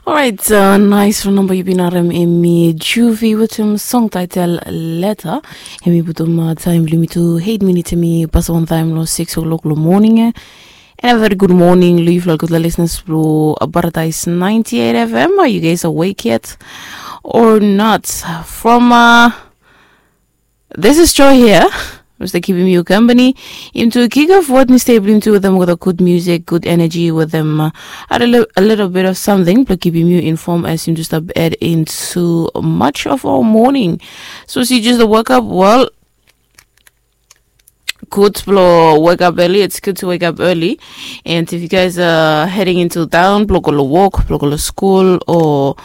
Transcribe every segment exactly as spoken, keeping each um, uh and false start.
Orait, nais long namba yu bin harem, hemi Juvi wetem song taitel Leta. Hemi putum taem blong yumi tu eit minit, hemi pasem wantaem long sikis o'clock long moning ya. And a very good morning long yufala gutpela listeners blong Paradise ninety-eight F M. Are you guys awake yet or not? From this is Joy here. Mista kipim yu kampani into kick off wod ni stei blong yumi tu wetem olgeta gud musik, gud energy wetem a little bit of something blong kipim yu inform as yumi tu stap head into much of our morning. So si just wake up well. Good blong wake up early. It's good to wake up early. And if you guys are heading into town blong go long wok, blong go long skul, o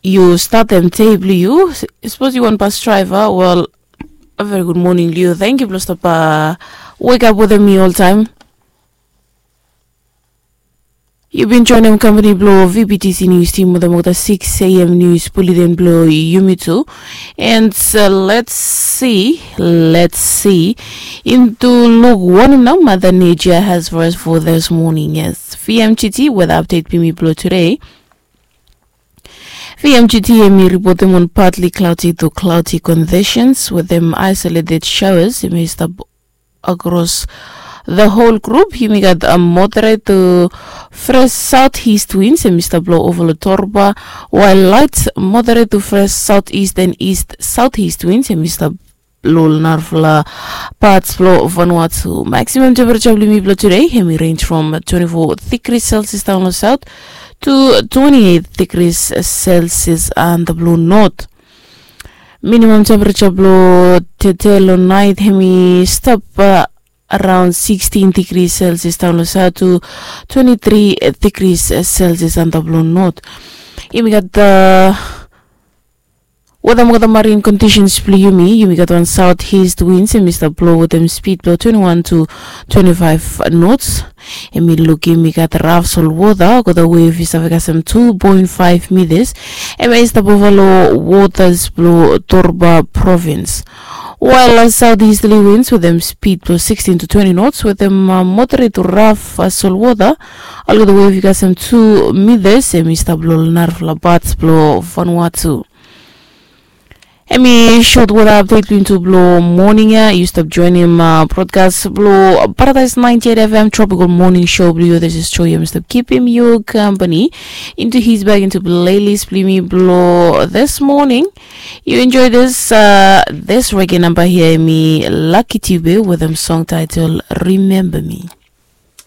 yu statem dei blong yu, sapos yu wan bas draiva, wel, a very good morning long yu. Thank you blong stap wake up wetem mi oltaem. Yu bin joinim kampani blong V B T C News Team wetem olgeta six A M news bulletin blong yumi tu. And let's see, let's see into luk wanem nao Mother Nature has for us for this morning. Yes, V M G T weather update blong yumi blong today. V M G T hemi ripotem on partly cloudy to cloudy conditions wetem isolated showers hemi stap across the whole group. Yumi gat a moderate to fresh southeast winds hemi stap blo ova lo Torba, while light moderate to fresh southeast and east southeast winds hemi stap blo lo narafala parts blo Vanuatu. Maximum temperature blo yumi blo today hemi range from twenty-four degrees Celsius down lo south to twenty-eight degrees Celsius anda blo north. Minimum temperature blo tede lo nait hemi stap around sixteen degrees Celsius down lo south to twenty-three degrees Celsius anda blo north. Yumi gat weather mo gat marine conditions blo yumi. Yumi gat wan southeast winds hemi stap blo wetem speed blo twenty-one to twenty-five knots. Hemi lukim i gat raf solwota, olgeta wave i save kasem two point five meters. Hemi stap ova lo waters blo Torba province. While southeasterly winds wetem speed blo sixteen to twenty knots wetem moderate to raf solwota, olgeta wave i kasem two meters. Hemi stap blo narafala parts blo Vanuatu. Hemi short weather update blo yumi tu blo moning ya. Yu stap joinim brodkas blo Paradise ninety-eight F M Tropical Morning Show blo yu. This is Joy. Yumi stap kipim yu kampani into his bag into playlist blo yumi blo this morning. Yu enjoy this this reggae namba hia, hemi Lucky Dube wetem song title Remember Me.